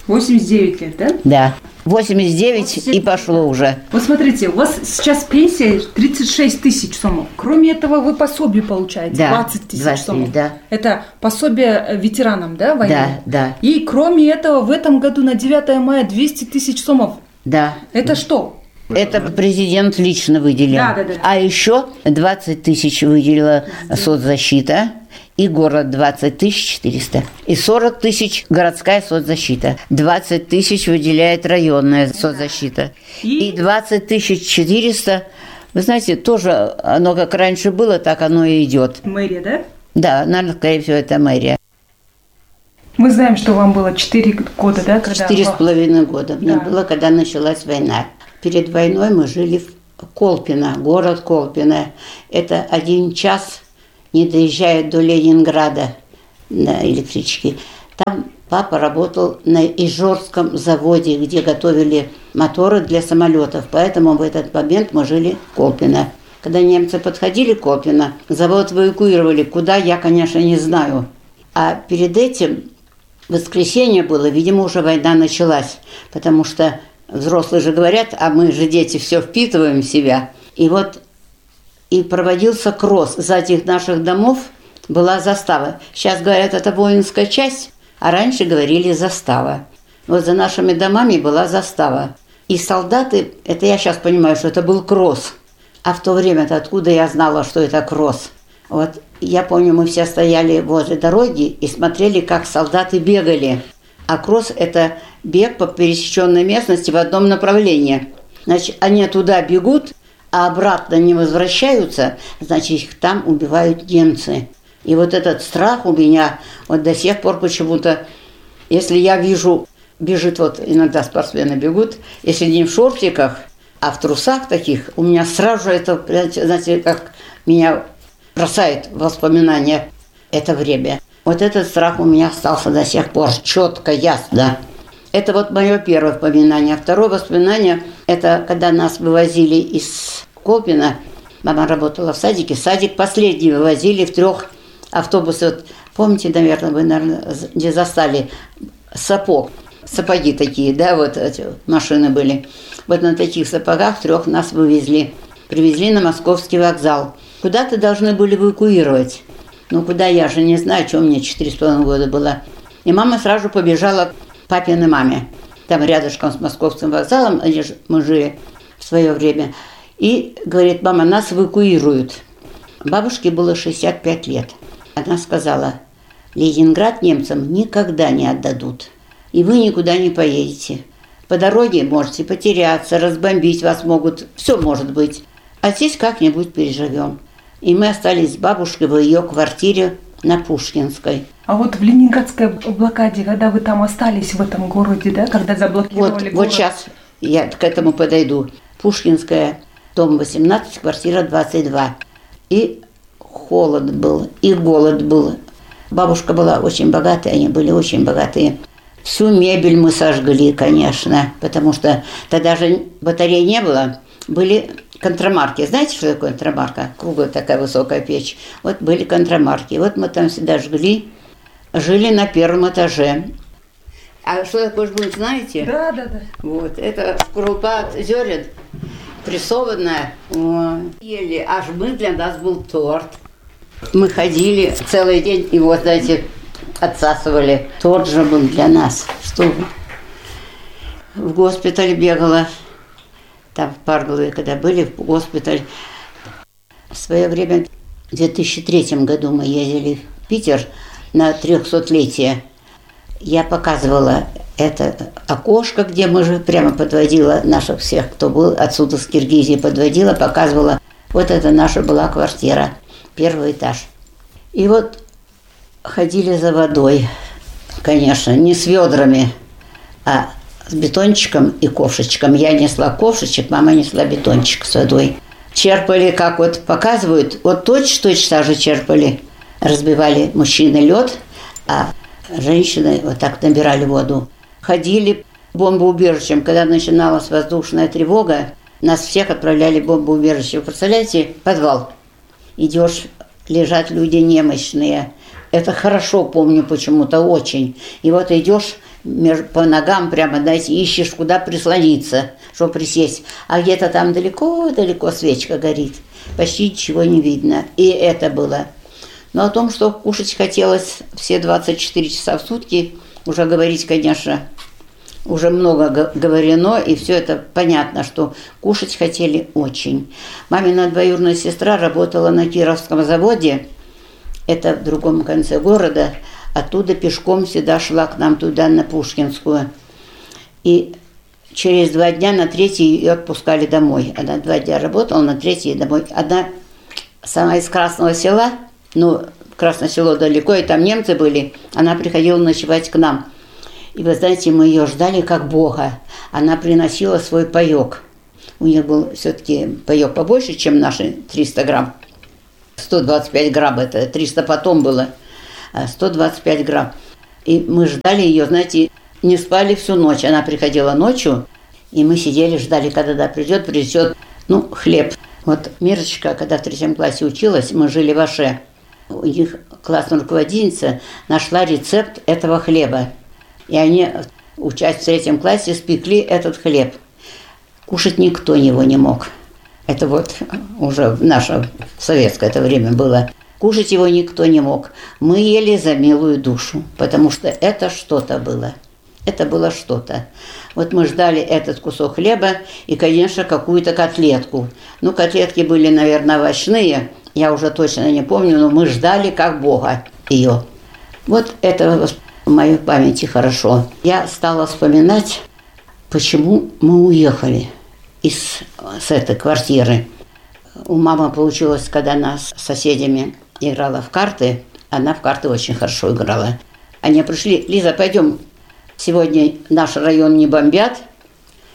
K: 89 лет, да?
I: Да. 89 и пошло уже.
K: Вот смотрите, у вас сейчас пенсия 36 тысяч сомов. Кроме этого, вы пособие получаете,
I: Да,
K: 20 тысяч сомов.
I: да.
K: Это пособие ветеранам, да, войны?
I: Да.
K: И кроме этого, в этом году на 9 мая 200 тысяч сомов.
I: Да.
K: Это что?
I: Это президент лично выделил.
K: Да.
I: А еще 20 тысяч выделила соцзащита. И город 20 400. И 40 тысяч городская соцзащита. 20 тысяч выделяет районная соцзащита. И 20 400, вы знаете, тоже оно как раньше было, так оно и идет.
K: Мэрия, да?
I: Да, наверное, скорее всего, это мэрия.
K: Мы знаем, что вам было 4 года, да?
I: 4,5 года мне было, когда началась война. Перед войной мы жили в Колпино, город Колпино. Это 1 час не доезжая до Ленинграда на электричке. Там папа работал на Ижорском заводе, где готовили моторы для самолетов. Поэтому в этот момент мы жили в Колпино. Когда немцы подходили к Колпино, завод эвакуировали. Куда, я, конечно, не знаю. А перед этим воскресенье было, видимо, уже война началась. Потому что взрослые же говорят, а мы же дети все впитываем в себя. И проводился кросс. За этих наших домов была застава. Сейчас говорят, это воинская часть, а раньше говорили застава. Вот за нашими домами была застава. И солдаты, это я сейчас понимаю, что это был кросс. А в то время-то откуда я знала, что это кросс? Вот я помню, мы все стояли возле дороги и смотрели, как солдаты бегали. А кросс – это бег по пересеченной местности в одном направлении. Значит, они туда бегут, а обратно не возвращаются, значит, их там убивают немцы. И вот этот страх у меня вот до сих пор почему-то, если я вижу, бежит, вот иногда спортсмены бегут, если не в шортиках, а в трусах таких, у меня сразу же это, знаете, как меня бросает в воспоминания это время. Вот этот страх у меня остался до сих пор, четко, ясно. Это вот мое первое воспоминание. Второе воспоминание – это когда нас вывозили из Колпино. Мама работала в садике. Садик последний вывозили в 3 автобусах. Вот, помните, наверное, вы, где застали сапоги такие, да, вот эти машины были. Вот на таких сапогах 3 нас вывезли. Привезли на Московский вокзал. Куда-то должны были эвакуировать. Ну, куда, я же не знаю, что мне 4,5 года было. И мама сразу побежала папиной маме. Там рядышком с Московским вокзалом, где мы жили в свое время. И говорит, мама, нас эвакуируют. Бабушке было 65 лет. Она сказала, Ленинград немцам никогда не отдадут. И вы никуда не поедете. По дороге можете потеряться, разбомбить вас могут. Все может быть. А здесь как-нибудь переживем. И мы остались с бабушкой в ее квартире на Пушкинской.
K: А вот в Ленинградской блокаде, когда вы там остались в этом городе, да, когда заблокировали город?
I: Вот сейчас я к этому подойду. Пушкинская, дом 18, квартира 22. И холод был, и голод был. Бабушка была очень богатая, они были очень богатые. Всю мебель мы сожгли, конечно, потому что тогда же батарей не было. Были контрамарки. Знаете, что такое контрамарка? Круглая такая высокая печь. Вот были контрамарки. Вот мы там всегда жгли. Жили на 1 этаже. А что такое жгут, знаете?
K: Да.
I: Вот, это крупа от зерен, прессованная. Ели, аж мы, для нас был торт. Мы ходили целый день, его, знаете, отсасывали. Торт же был для нас. Что в госпиталь бегала. Там в Парголове, когда были в госпиталь. В свое время, в 2003 году мы ездили в Питер на 300-летие. Я показывала это окошко, где мы же прямо подводила наших всех, кто был отсюда с Киргизии, подводила, показывала. Вот это наша была квартира, 1 этаж. И вот ходили за водой, конечно, не с ведрами, а с бетончиком и ковшичком. Я несла ковшичек, мама несла бетончик с водой. Черпали, как вот показывают, вот точно же черпали. Разбивали мужчины лед, а женщины вот так набирали воду. Ходили бомбоубежищем. Когда начиналась воздушная тревога, нас всех отправляли в бомбоубежище. Вы представляете, подвал. Идешь, лежат люди немощные. Это хорошо помню почему-то очень. И вот идешь, по ногам прямо, знаете, ищешь, куда прислониться, чтобы присесть. А где-то там далеко-далеко свечка горит. Почти ничего не видно. И это было. Но о том, что кушать хотелось все 24 часа в сутки, уже говорить, конечно, уже много говорено, и все это понятно, что кушать хотели очень. Мамина двоюродная сестра работала на Кировском заводе, это в другом конце города, оттуда пешком всегда шла к нам туда, на Пушкинскую. И через 2 дня, на 3-й ее отпускали домой. Она 2 дня работала, на 3-й домой. Она сама из Красного Села, Красное Село далеко, и там немцы были, она приходила ночевать к нам. И вы знаете, мы ее ждали как Бога. Она приносила свой паёк. У нее был все-таки паёк побольше, чем наши 300 грамм. 125 грамм, это 300 потом было. 125 грамм. И мы ждали ее, знаете, не спали всю ночь. Она приходила ночью, и мы сидели, ждали, когда придет, принесет, хлеб. Вот Мирочка, когда в 3 классе училась, мы жили в Аше. У них классная руководительница нашла рецепт этого хлеба. И они, учась в 3 классе, спекли этот хлеб. Кушать никто его не мог. Это вот уже в наше советское это время было. Кушать его никто не мог. Мы ели за милую душу, потому что это что-то было. Это было что-то. Вот мы ждали этот кусок хлеба и, конечно, какую-то котлетку. Котлетки были, наверное, овощные, я уже точно не помню, но мы ждали как Бога ее. Вот это в моей памяти хорошо. Я стала вспоминать, почему мы уехали с этой квартиры. У мамы получилось, когда она с соседями играла в карты, она в карты очень хорошо играла. Они пришли: Лиза, пойдем, сегодня наш район не бомбят.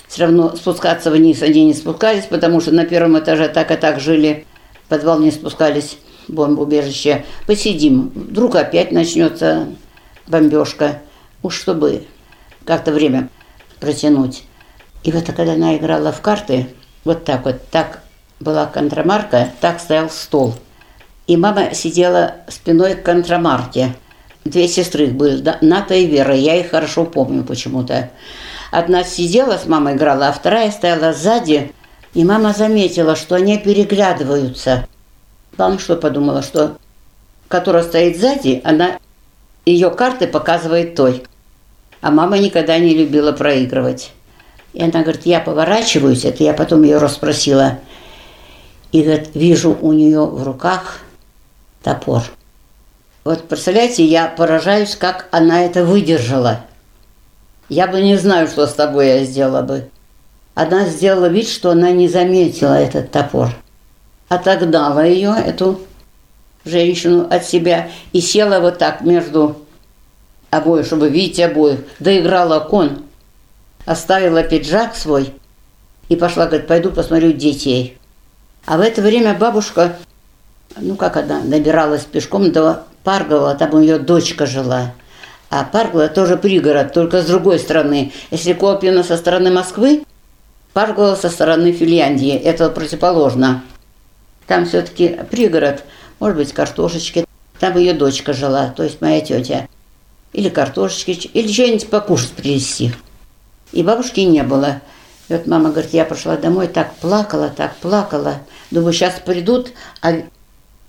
I: Все равно спускаться вниз они не спускались, потому что на 1 этаже так и так жили, в подвал не спускались, бомбоубежище. Посидим, вдруг опять начнется бомбежка. Уж чтобы как-то время протянуть. И вот когда она играла в карты, так была контрамарка, так стоял стол. И мама сидела спиной к контрамарке. 2 сестры были, Ната и Вера, я их хорошо помню почему-то. Одна сидела с мамой играла, а вторая стояла сзади, и мама заметила, что они переглядываются. Мама что подумала, что которая стоит сзади, ее карты показывает той. А мама никогда не любила проигрывать. И она говорит, я поворачиваюсь, это я потом ее расспросила. И говорит, вижу у нее в руках топор. Вот представляете, я поражаюсь, как она это выдержала. Я бы не знаю, что с тобой я сделала бы. Она сделала вид, что она не заметила этот топор. Отогнала ее, эту женщину, от себя и села вот так между обоих, чтобы видеть обоих. Доиграла кон, оставила пиджак свой и пошла, говорит, пойду посмотрю детей. А в это время бабушка, она добиралась пешком до Паргова, там у нее дочка жила. А Паргова тоже пригород, только с другой стороны. Если Колпино со стороны Москвы, Паргова со стороны Финляндии, это противоположно. Там все-таки пригород, может быть, картошечки. Там ее дочка жила, то есть моя тетя. Или картошечки, или что-нибудь покушать привезти. И бабушки не было. И вот мама говорит, я пошла домой, так плакала. Думаю, сейчас придут, а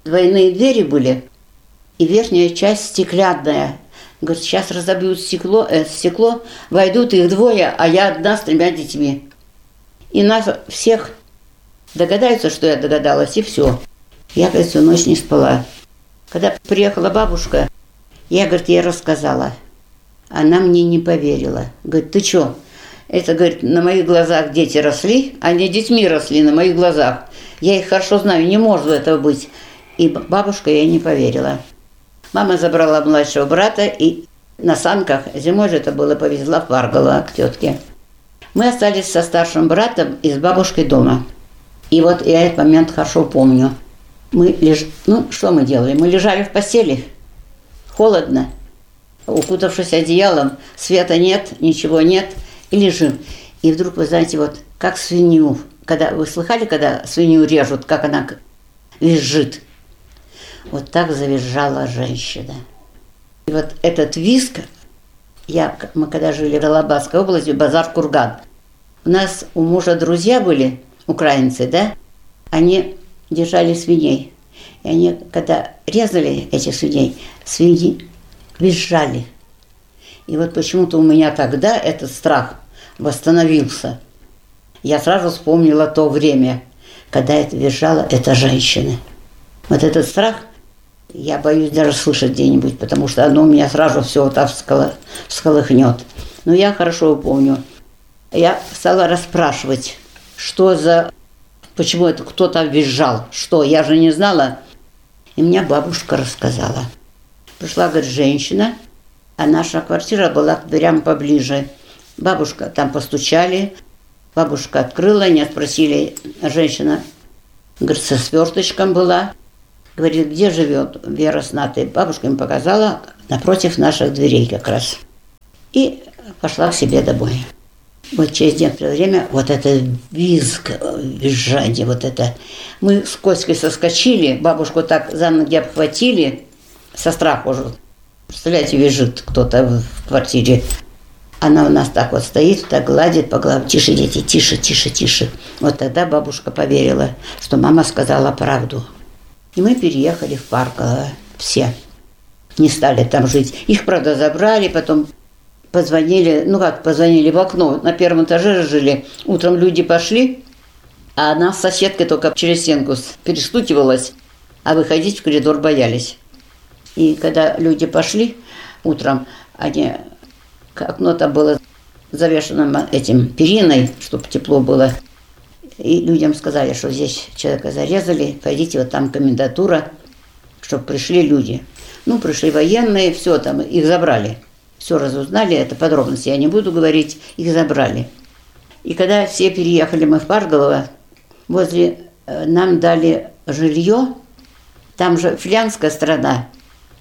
I: двойные двери были, и верхняя часть стеклянная. Говорит, сейчас разобьют стекло, войдут их 2, а я одна с 3 детьми. И нас всех догадаются, что я догадалась, и все. Я, говорит, всю ночь не спала. Когда приехала бабушка, я, говорит, ей рассказала. Она мне не поверила. Говорит, ты что? Это, говорит, на моих глазах дети росли, они детьми росли на моих глазах. Я их хорошо знаю, не может этого быть. И бабушка ей не поверила. Мама забрала младшего брата и на санках, зимой же это было, повезла в Парголово к тетке. Мы остались со старшим братом и с бабушкой дома. И вот я этот момент хорошо помню. Что мы делали? Мы лежали в постели, холодно, укутавшись одеялом, света нет, ничего нет, и лежим. И вдруг, вы знаете, вот как свинью, вы слыхали, когда свинью режут, как она визжит? Вот так завизжала женщина. И вот этот визг, мы когда жили в Алабасской области, базар Курган, у нас у мужа друзья были, украинцы, да, они держали свиней. И они, когда резали этих свиней, свиньи визжали. И вот почему-то у меня тогда этот страх восстановился. Я сразу вспомнила то время, когда это визжала эта женщина. Вот этот страх, я боюсь даже слышать где-нибудь, потому что оно у меня сразу все вот так всколыхнет. Но я хорошо помню. Я стала расспрашивать, почему это кто-то визжал, что, я же не знала. И мне бабушка рассказала. Пришла, говорит, женщина, а наша квартира была прямо поближе. Бабушка, там постучали, бабушка открыла, не спросили, женщина, говорит, со сверточком была. Говорит, где живет Вера с Натой? Бабушка им показала напротив наших дверей как раз. И пошла к себе домой. Вот через некоторое время вот это визг, визжание, вот это. Мы с Коськой соскочили, бабушку так за ноги обхватили, со страху уже. Представляете, визжит кто-то в квартире. Она у нас так вот стоит, так гладит по голове. Тише, дети, тише, тише, тише. Вот тогда бабушка поверила, что мама сказала правду. И мы переехали в Парково все. Не стали там жить. Их, правда, забрали, потом позвонили, позвонили в окно. На первом этаже жили. Утром люди пошли, а она с соседкой только через стенку перестукивалась, а выходить в коридор боялись. И когда люди пошли утром, окно там было завешено этим периной, чтобы тепло было. И людям сказали, что здесь человека зарезали, пойдите, вот там комендатура, чтобы пришли люди. Пришли военные, все там, их забрали. Все разузнали, это подробности я не буду говорить, их забрали. И когда все переехали мы в Парголово, нам дали жилье, там же финляндская страна,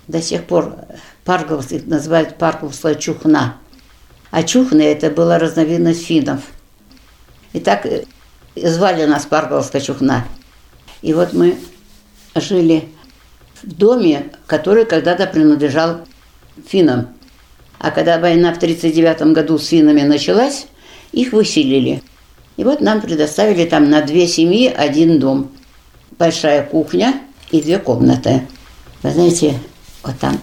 I: до сих пор Парголовцы их называют Парголовская чухна. А чухны это была разновидность финнов. И так звали нас Парголовская чухна. И вот мы жили в доме, который когда-то принадлежал финнам. А когда война в 1939 году с финнами началась, их выселили. И вот нам предоставили там на 2 семьи 1 дом. Большая кухня и 2 комнаты. Вы знаете, вот там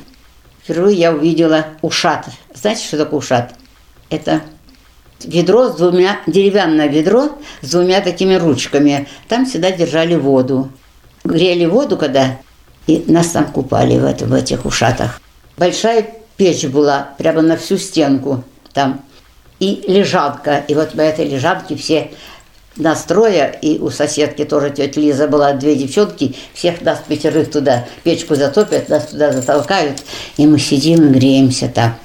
I: впервые я увидела ушат. Знаете, что такое ушат? Это ведро с 2, деревянное ведро с 2 такими ручками. Там всегда держали воду. Грели воду, когда, и нас там купали в этих ушатах. Большая печь была прямо на всю стенку там. И лежанка. И вот по этой лежанке все нас 3, и у соседки тоже тетя Лиза была 2 девчонки, всех нас 5 туда, печку затопят, нас туда затолкают, и мы сидим и греемся там.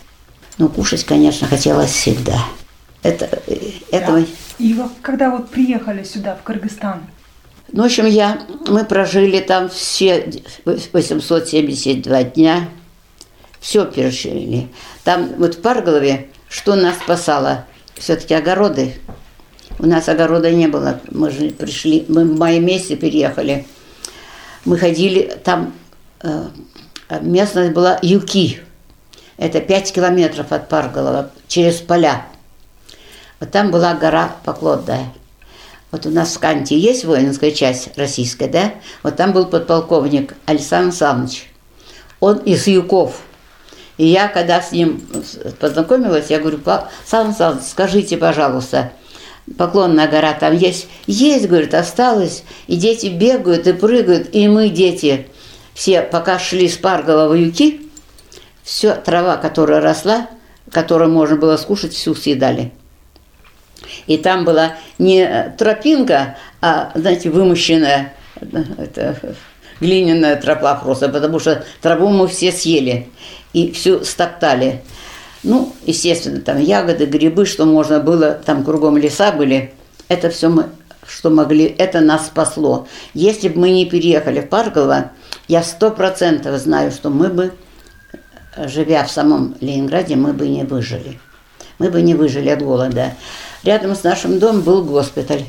I: Кушать, конечно, хотелось всегда.
K: И когда вот приехали сюда, в Кыргызстан?
I: В общем, мы прожили там все 872 дня, все пережили. Там вот в Парголове, что нас спасало? Все-таки огороды. У нас огорода не было. Мы же пришли, мы в мае месяце переехали. Мы ходили, там местность была Юки. Это 5 километров от Парголова, через поля. Вот там была гора Поклонная. Вот у нас в Канте есть воинская часть российская, да? Вот там был подполковник Александр Александрович. Он из Юков. И я, когда с ним познакомилась, я говорю, Александр Александрович, скажите, пожалуйста, Поклонная гора там есть? Есть, говорит, осталось. И дети бегают и прыгают. И мы, дети, все, пока шли с Парголова в Юки, все трава, которая росла, которую можно было скушать, всю съедали. И там была не тропинка, а, знаете, вымощенная глиняная тропа просто, потому что траву мы все съели и всю стоптали. Естественно, там ягоды, грибы, что можно было, там кругом леса были. Это все мы, что могли, это нас спасло. Если бы мы не переехали в Парголово, я 100% знаю, что мы бы, живя в самом Ленинграде, мы бы не выжили. Мы бы не выжили от голода. Рядом с нашим домом был госпиталь.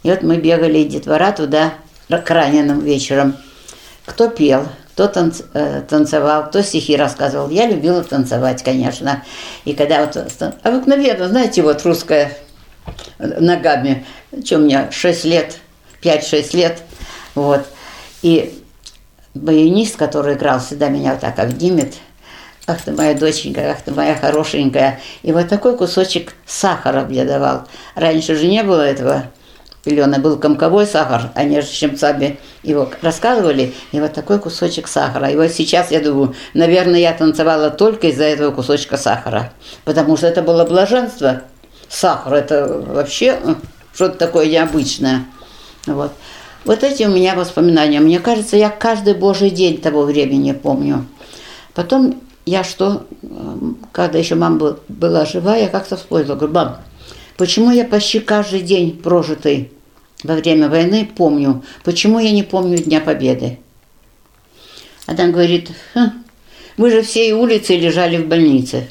I: И вот мы бегали, детвора, туда к раненым вечером. Кто пел, кто танцевал, кто стихи рассказывал. Я любила танцевать, конечно. И когда вот обыкновенно, знаете, вот русская ногами, что у меня 6 лет, 5-6 лет, вот. И баянист, который играл, всегда меня вот так обнимет. Ах ты моя доченька, ах ты моя хорошенькая. И вот такой кусочек сахара мне давал. Раньше же не было этого пилёна, был комковой сахар, они же щипцами его раскладывали, и вот такой кусочек сахара. И вот сейчас, я думаю, наверное, я танцевала только из-за этого кусочка сахара, потому что это было блаженство. Сахар, это вообще что-то такое необычное. Вот. Вот эти у меня воспоминания. Мне кажется, я каждый божий день того времени помню. Потом я когда еще мама была жива, я как-то вспомнила, говорю, мам, почему я почти каждый день прожитый во время войны помню, почему я не помню Дня Победы? Она говорит, вы же всей улицей лежали в больнице.